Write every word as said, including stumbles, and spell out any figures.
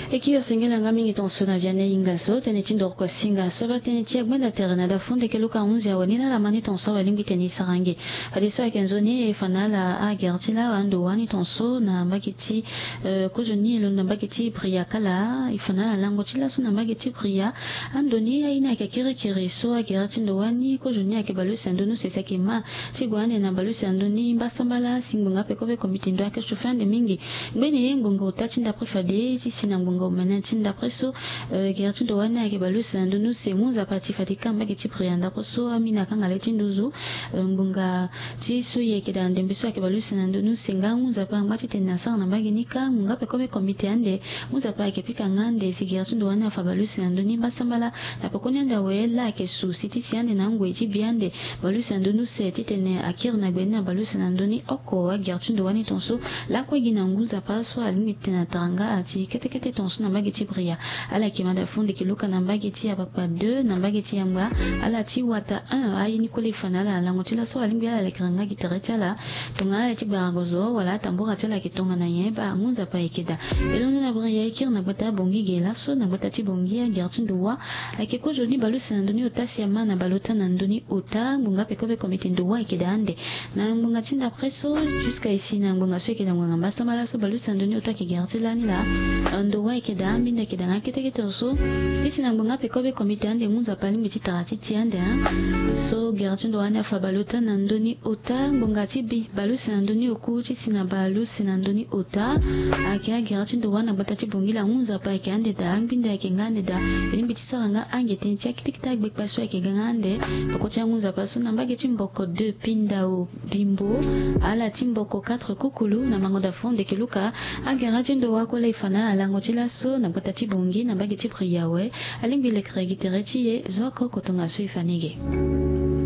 E kiri sengela nga mingi tonso na viane inga so tene ti ndoroko asinga so ba tene ti agbenda tere na dafu ndeke luka hunzi awe ni na lama ni tonso awe lingbi tene isarangi. Fade so ake nzoni e fanala a gere ti la ando wani tonso na mbage ti kozoni e londo na mbage ti bria kala e fanala lango ti laso na mbage ti bria. Ando ni aye ni ake kirikiri so a gere ti ndo wani kozoni ake balusi ando nuse si ake ma ti gue ande na balusi ando ni mbasambala si ngbonga ape kobe komite ndo ake sufi ande mingi. Ngbene ye ngbonga ota ti ndapre fade ti si na ngbonga omene ti ndapre so gere ti ndo wani ake balusi na ndo nuse mu nzapa ti fade ka mbage ti bria ndapre so amina kangale ti nduzu. Ngbonga ti so ye eke daa ndembe so ake balusi na ndo nuse nga mu nzapa angba ti tene na sara na mbage ni ka ngbonga ape kobe komite ande. Mu nzapa ake pika nga ande si gere ti ndo wani afa balusi na ndo ni mbasambala. Na pekoni ande awe la ake su si ti si ande na ngoi ti bi ande. Balusi na ndo nuse ti tene akiri na gbe ni na balusi na ndo ni oko agere ti ndo wani tonso. Lakue gi na ngu nzapa so alingbi ti tene atara nga ati kete kete tonso na mbage ti bria. Ala yeke mada fo ndeke luka na mbage ti abakpa deux na mbage ti yangba. Ala ti wata un aye ni kue le fa na ala na lango ti laso alingbi ala lekere nga gi tere ti ala. Tongana ala ti gbaragozo wala atambura ti ala ayeke tongana nyen baa ngu nzapa ayeke daa. E londo na bria e kiri na gbata abongi ge laso na gbata ti bongi agere ti ndo wa. Ayeke kozoni balusi na ndo ni ota si ama na baleota na ndo ni ota ngbonga ape kobe komite ndo wa ayeke daa ande. Na ngbonga ti ndapre so jusque esi na ngbonga so ayeke na ngbonga mbasambala so balusi na ndo ni ota ayeke gere ti lani laa. Ndo wa ayeke daa ambinda ayeke daa nga kete kete so ti si na ngbonga ape kobe komite ande mu nzapa alingbi ti tara ti ti ande. So gere ti ndo wani afa baleota na ndo ni ota ngbonga ti bi balusi na ndo ni oku ti si na balusi na ndo ni ota. Ayeke agere ti ndo wani na gbata ti bongi la mu nzapa ayeke ande daa ambinda ayeke nga ande daa. E lingbi ti sara nga ange tënë ti akete kete agbekpa so ayeke ga nga ande. Poko ti angu nzapa so na mbage ti mboko deux pindao bimbo ala ti mboko quatre kukulu na mango da fo ndeke luka. Agara ti ndo wa kue la e fa na ala lango ti laso na gbata ti bongi na mbage ti bria awe. Alingbi lekere gi tere ti e zo oko kotonga so e fa ni ge.